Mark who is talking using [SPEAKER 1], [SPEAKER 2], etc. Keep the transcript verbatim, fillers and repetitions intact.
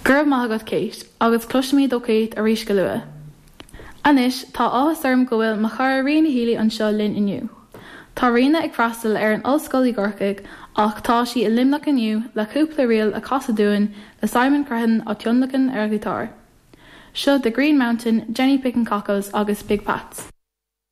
[SPEAKER 1] Go raibh maith agat Kate, agus cloisfimid ó Kate arís go luath. Anois tá áthas orm go bhfuil mo chara Ríona Healy anseo linn inniu. Tá Ríona ag freastal ar an ollscoil i gCorcaigh ach tá sí i Luimneach inniu le cúpla ríl a chasadh dúinn le Simon Crehan á tionlacan ar ghiotár. Seo The Green Mountain, Jenny Picking Cockles agus Big Pats.